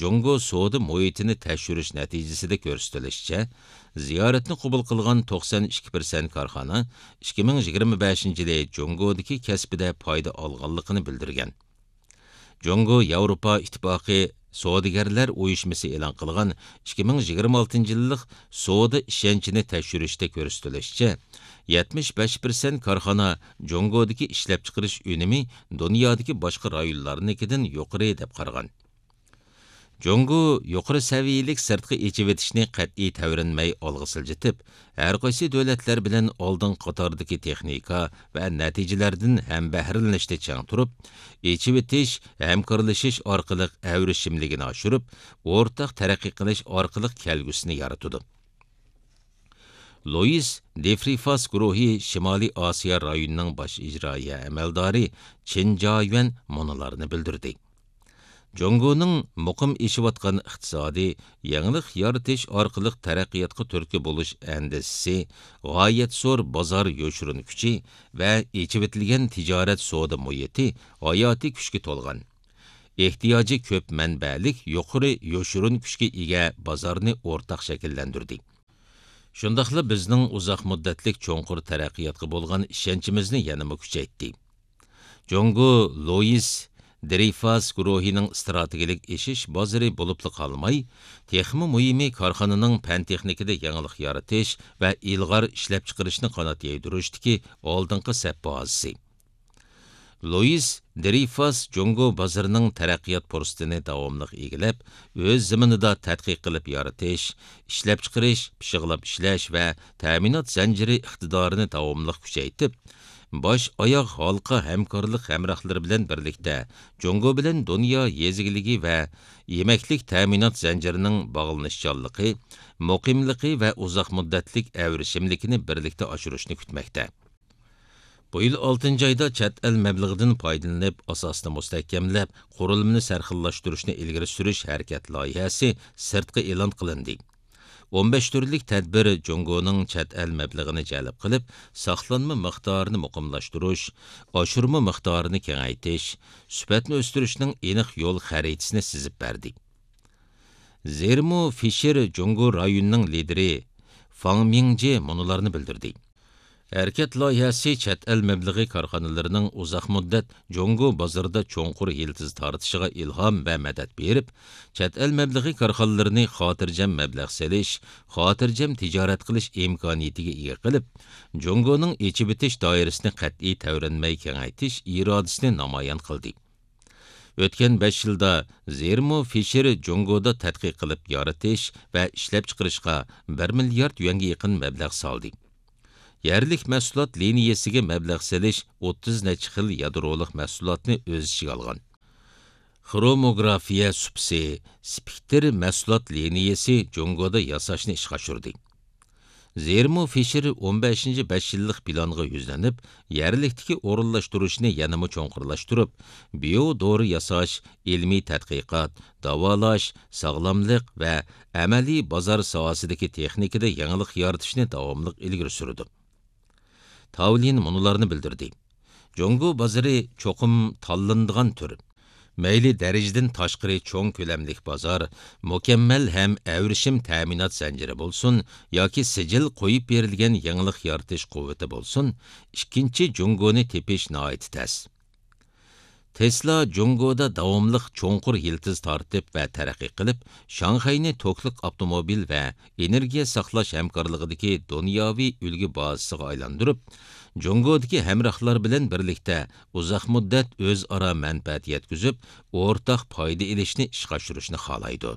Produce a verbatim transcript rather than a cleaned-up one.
جۇڭگو سودا مۇھىتىنى تەكشۈرۈش نەتىجىسىدە كۆرسىتىلىشىچە، زىيارەتنى قوبۇل قىلغان توقسان ئىككى پىرسەنت كارخانا ئىككى مىڭ يىگىرمە بەشىنچى يىلى جۇڭگودىكى كەسپىدە پايدا ئالغانلىقىنى بىلدۈرگەن. جۇڭگو ياۋروپا ئىتتىپاقى سودىگەرلەر ئۇيۇشمىسى ئېلان قىلغان ئىككى مىڭ يىگىرمە ئالتىنچى يىللىق سودا ئىشەنچىنى تەكشۈرۈشتە كۆرسىتىلىشىچە، يەتمىش بەش پىرسەنت كارخانا جۇڭگودىكى ئىشلەپچىقىرىش ئۈنۈمى دۇنيادىكى باشقا رايونلارنىڭكىدىن يۇقىرى دەپ قارىغان. جۇڭگو يۇقىرى سەۋىيەلىك سىرتقى ئېچىۋېتىشنى قەتئىي تەۋرەنمەي ئالغا سىلجىتىپ، ھەرقايسى دۆلەتلەر بىلەن ئالدىنقى قاتاردىكى تېخنىكا ۋە نەتىجىلەردىن ھەمبەھىرلىنىشتە چىڭ تۇرۇپ، ئېچىۋېتىش، ھەمكارلىشىش ئارقىلىق ئەۋرىشىملىكىنى ئاشۇرۇپ، ئورتاق تەرەققىي قىلىش ئارقىلىق كەلگۈسىنى يارىتىدۇ. لويىس دېفرىفاس گۇرۇھى شىمالىي ئاسىيا رايونىنىڭ باش ئىجرائىيە ئەمەلدارى چېن جايۈەن مۇنۇلارنى بىلدۈردى. جۇڭگونىڭ مۇقىم ئېشىۋاتقان ئىقتىسادىي يېڭىلىق يارىتىش ئارقىلىق تەرەققىياتقا تۈرتكە بولۇش ئەندىزىسى، غايەت زور بازار يوشۇرۇن كۈچى ۋە ئېچىۋېتىلگەن تىجارەت سودا مۇھىتى ھاياتىي كۈچكە تولغان، ئېھتىياجى كۆپ مەنبەلىك يۇقىرى يوشۇرۇن كۈچكە ئىگە بازارنى ئورتاق شەكىللەندۈردى. شۇنداقلا بىزنىڭ ئۇزاق مۇددەتلىك چوڭقۇر تەرەققىياتقا بولغان ئىشەنچىمىزنى يەنىمۇ كۈچەيتتى. جۇڭگو لويىس درېيفاس گۇرۇھىنىڭ ئىستراتېگىيەلىك ئېشىش بازىرى بولۇپلا قالماي، تېخىمۇ مۇھىمى كارخانىنىڭ پەن-تېخنىكىدا يېڭىلىق يارىتىش ۋە ئىلغار ئىشلەپچىقىرىشنى قانات يايدۇرۇشتىكى ئالدىنقى سەپ بازىسى. لويىس درېيفاس جۇڭگو بازىرىنىڭ تەرەققىيات پۇرسىتىنى داۋاملىق ئىگىلەپ، ئۆز زېمىنىدا تەتقىق قىلىپ يارىتىش، ئىشلەپچىقىرىش، پىششىقلاپ ئىشلەش ۋە تەمىنات زەنجىرى ئىقتىدارىنى داۋاملىق كۈچەيتىپ، باش ئاياغ ھالقا ھەمكارلىق ھەمراھلىرى بىلەن بىرلىكتە جۇڭگو بىلەن دۇنيا يېزا ئىگىلىكى ۋە يېمەكلىك تەمىنات زەنجىرىنىڭ باغلىنىشچانلىقى، مۇقىملىقى ۋە ئۇزاق مۇددەتلىك ئەۋرىشىملىكىنى بىرلىكتە ئاشۇرۇشنى كۈتمەكتە. بۇ يىل ئالتىنچى ئايدا چەت ئەل مەبلىغىدىن پايدىلىنىپ، ئاساسنى مۇستەھكەملەپ، قۇرۇلمىنى سەرخىللاشتۇرۇشنى ئىلگىرى سۈرۈش ھەرىكەت لايىھەسى سىرتقا ئېلان قىلىندى. ئون بەش تۈرلۈك تەدبىر جۇڭگونىڭ چەت ئەل مەبلىغىنى جەلپ قىلىپ، ساقلانما مىقدارىنى مۇقىملاشتۇرۇش، ئاشۇرما مىقدارىنى كېڭەيتىش، سۈپەتنى ئۆستۈرۈشنىڭ ئېنىق يول خەرىتىسىنى سىزىپ بەردى. زېرمو فىشېر جۇڭگو رايونىنىڭ لىدىرى فاڭ مىڭجې مۇنۇلارنى بىلدۈردى. ھەرىكەت لايىھەسى چەت ئەل مەبلىغى كارخانىلىرىنىڭ ئۇزاق مۇددەت جۇڭگو بازىرىدا چوڭقۇر يىلتىز تارتىشىغا ئىلھام ۋە مەدەت بېرىپ، چەت ئەل مەبلىغى كارخانىلىرىنى خاتىرجەم مەبلەغ سېلىش، خاتىرجەم تىجارەت قىلىش ئىمكانىيىتىگە ئىگە قىلىپ، جۇڭگونىڭ ئېچىۋېتىش دائىرىسىنى قەتئىي تەۋرەنمەي كېڭەيتىش ئىرادىسىنى نامايان قىلدى. ئۆتكەن بەش يىلدا زېرمو فىشېر جۇڭگودا تەتقىق قىلىپ يارىتىش ۋە ئىشلەپچىقىرىشقا بىر مىليارد يۈەنگە يېقىن مەبلەغ سالدى. يەرلىك مەھسۇلات لىنىيەسىگە مەبلەغ سېلىش ئوتتۇز نەچچە خىل يادرولۇق مەھسۇلاتنى ئۆز ئىچىگە ئالغان خروموگرافىيە سۇپىسى، سپېكتىر مەھسۇلات لىنىيەسى جۇڭگودا ياساشنى ئىشقا ئاشۇردى. زېرمو فىشېر ئون بەشىنچى بەش يىللىق پىلانغا يۈزلىنىپ، يەرلىكتىكى ئورۇنلاشتۇرۇشنى يەنىمۇ چوڭقۇرلاشتۇرۇپ، بىيو دورا ياساش، ئىلمىي تەتقىقات، داۋالاش، ساغلاملىق ۋە ئەمەلىي بازار ساھەسىدىكى تېخنىكىدا يېڭىلىق يارىتىشنى داۋاملىق ئىلگىرى سۈرىدۇ. تاۋلىن مۇنۇلارنى بىلدۈردى: جۇڭگو بازىرى چوقۇم تاللىنىدىغان تۈر. مەيلى دەرىجىدىن تاشقىرى چوڭ كۆلەملىك بازار، مۇكەممەل ھەم ئەۋرىشىم تەمىنات زەنجىرى بولسۇن ياكى سىجىل قويۇپ بېرىلگەن يېڭىلىق يارىتىش قۇۋۋىتى بولسۇن، ئىككىنچى جۇڭگونى تېپىش ناھايىتى تەس. تېسلا جۇڭگودا داۋاملىق چوڭقۇر يىلتىز تارتىپ ۋە تەرەققىي قىلىپ، شاڭخەينى توكلۇق ئاپتوموبىل ۋە ئېنېرگىيە ساقلاش ھەمكارلىقىدىكى دۇنياۋى ئۈلگە بازىسىغا ئايلاندۇرۇپ، جۇڭگودىكى ھەمراھلار بىلەن بىرلىكتە ئۇزاق مۇددەت ئۆزئارا مەنپەئەت يەتكۈزۈپ، ئورتاق پايدا ئېلىشنى ئىشقا ئاشۇرۇشنى خالايدۇ.